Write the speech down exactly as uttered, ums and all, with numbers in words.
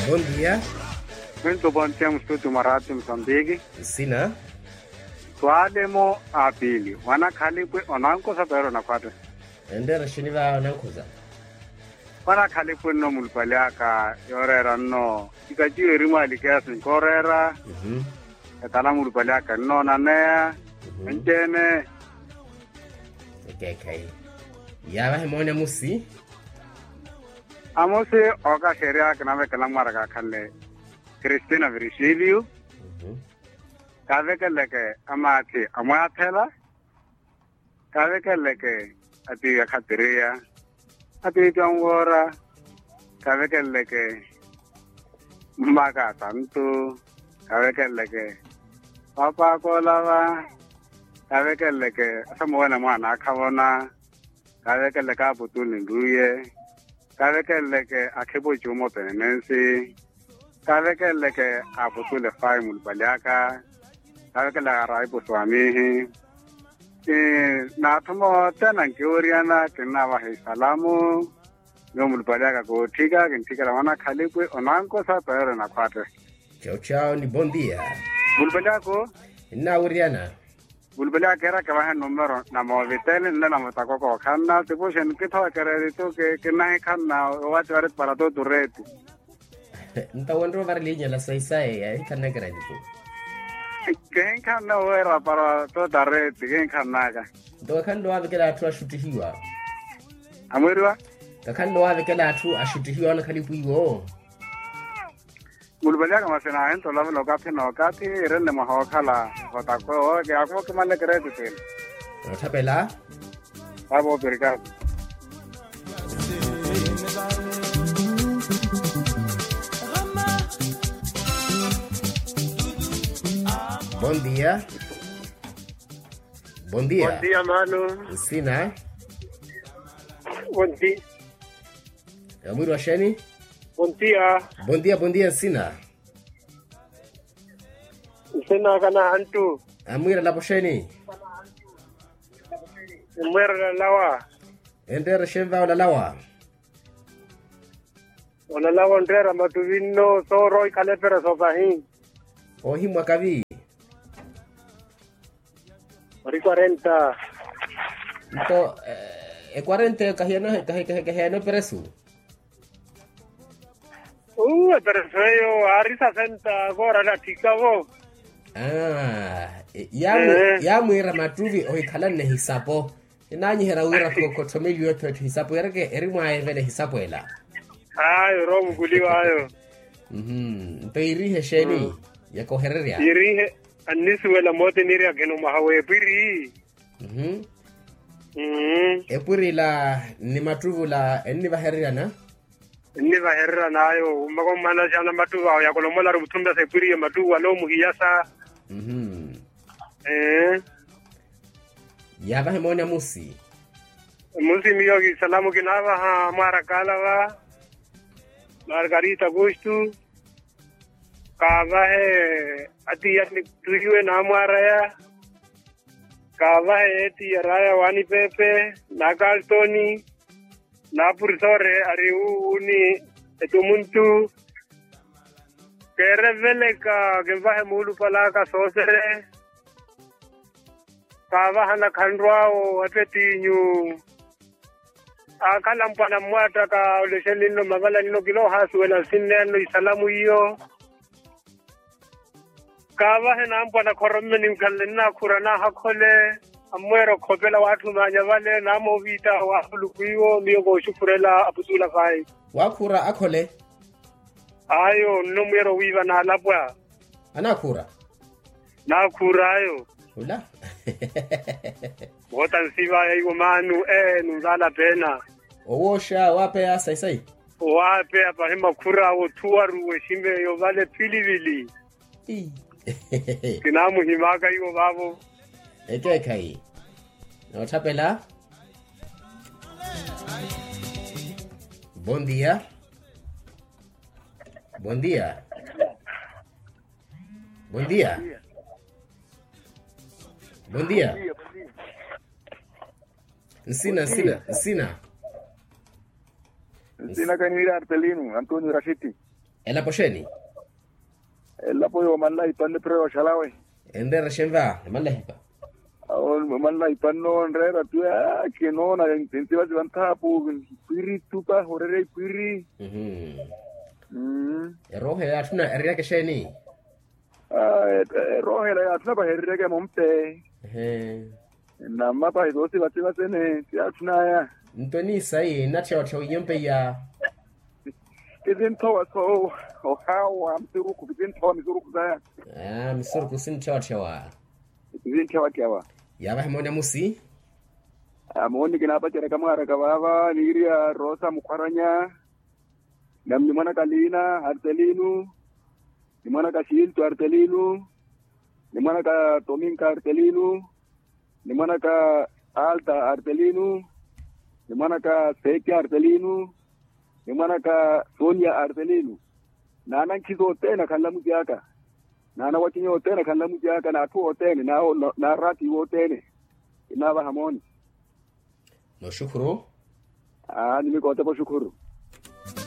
Bondia. Mwinto bondia mustuti mwa rati musambiki. Nsina. Swalemo apili wanakhalipwe onankosa pero nakhwate. Enreera xini va onankhosa. Wanakhalipwe nno mulupali aka yoreera nno. Ikaciwe eri mwalikeya sinkoreera. Etala mulupali aka nnoonaneya. Enceene. Ekeekhayi. Yaavahe moone amusi. Amusi okaxerya kinavekela mwaara kakhanle. Kristina virgilio. Kavekeleke amaathi amwaathela. Kavekeleke atiiya khatiriya. Atiiya atiiya anwoora. Kavekeleke mmaka atantu. Kavekeleke papaaka olava. Kavekeleke asamuwene mwaana akhavona. Kavekeleke aputuli nruye. Kavekeleke akhipo cuumo penenensi. Kavekeleke aputuli fayi mulupali aka. Kavekeleke araipo swamihi. Naathuma othene ankiwuriyana kinnavaha isalamu. Nyuwo mulupali aka kootthika kintthikela mwanakhalipwe onankosa pero nakhwate. Chao chao ni bondia. Mulupali ako. Nnaawiriyana. Mulupali ako keera kevahe numero na moovitele nne na mutako kookhanna tipuxeni kithowa kereritu. Kinnahikhanna owati wari para toturetu. Nto wenre ovari liinyela saisaye yahinkhanna kereritu. Kihinkhanna oweera para totareti kihinkhannaka. Nto kakhanle owaavekela atthu axuttihiwa. Amwiriwa. Kakhanle owaavekela atthu axuttihiwa onakhalipu iwo. Mulupali aka masi naahintha olavula okathi n'okathi. Irenle mwaha ookhala otakwe owo kiyaakhuva okimanle kereti tini. Nootthapela. Vavo operikaka. Bondia. Bondia. Bondia mano. Nsina. Bondia. Mwiri wa xeni. Bondia. Bondia bondia nsina. Nsina kana hantu. Amwira lapo xeni. Mwira lalawa. Enreera xeni va olalawa. Olalawa onreera matuvi nno sooro ikhala epera sopahi. Oohimwaka vi. Ori kwarenta. Nto ekwarenta eyo kahiyano eperesu. Uu eperesu eyo aari sasenta koora natthikavo. Yaamwiira mattuvi ohikhalanne hisapo. Kinaanyiherya wira khotthomeliwe etthu etthu hisapo ereke eri mwaayevela ehisapo ela. Ayo orowa omukuliwa ayo. Nto iirihe xeeni yakohererya? Iirihe annisuwela mooti niiri akhina omwaha w'epwiri. Epwiri ila ni mattuvi ula ennivahereryana. Ennivahereryana ayo mmaka ommana xana mattuvi awo yakolomolaru mutthumira sa epwiri iyo mattuvi wala omuhiyasa. Ee. Yaavahe mooni amusi. Musi miyo kisalamu kinaavaha mwaara kaalava. Margarita augustu. Kaavahe atiya ni tuhiwe naamwaaraya. Kaavahe etiya raya waani pepe na kaltoni. Naapurisoore ari wuuni etumuntu. Keereveleka kinvahe muulupalaka soosere. Kaavahana khanrw'awo epetiinyu. Aakhala mpwana mmwaattaka olexeni nno mavala nno kila ohaasuwela nsinneya-nno isalamu iyo. Kaavahe nampwana khoromme ninkhanle nnaakhura naahakhole. Ammweera okhopela waatthumaanya vale naamooviita waahulukwiwo miyo kooxukhurela aputula fayi. Waakhura akhole. Ayo nno mwiira owiiva naalapwa. Anaakhuura. Naakhuura ayo. Ula. Woota nsivaya iwo maanu ee nunvaala peena. Owooxa waapeya sayi sayi. Owaapeya pahi makhura awo othuwaru wexime yovale philivili. Kinaamuhimaka iwo vaavo. Ekeekhayi. Nootthapela. Bondia. Bondia. Bondia. Bondia. Nsina nsina nsina. Nsina kaniiri artelino antonio rashiti. Elapo xeeni? Elapo yoomanlahi panno epira yooxalawe. Enreera xenva emanlahipa? Awo emanlahipa nnoonreera tu. Kinoona entsivatsiva nthaapu. Ipwiri tupa horerya ipwiri. Eroohela yaatthuna ereryaka exeeni? Eroohela yaatthuna pahereryaka emompe. Nammapahi soosivatsiva sene siyaatthunaya. Nto eniisayi enatthewatthe winyompe iya? Kisinthowa so ohawa misurukhu kisinthowa misurukhu saya. Misurukhu sintthewatthe wa. Kisintthewatthe wa. Yaavahi mooni amusi. Amooni kinaapacerya kamwaaraka vaava niiriya rosa mukhwaranya. Nami nimwanaka liina artelinu. Nimwanaka xilto artelinu. Nimwanaka tominka artelinu. Nimwanaka alta artelinu. Nimwanaka seti artelinu. Nimwanaka sonia artelinu. Naana nkhizi othene akhanla muci aka. Naana wacinya othene akhanla muci aka n'atthu othene. N'arati wothene. Kinaavaha mooni. Noxukhuru. Nimikootepa oxukhuru.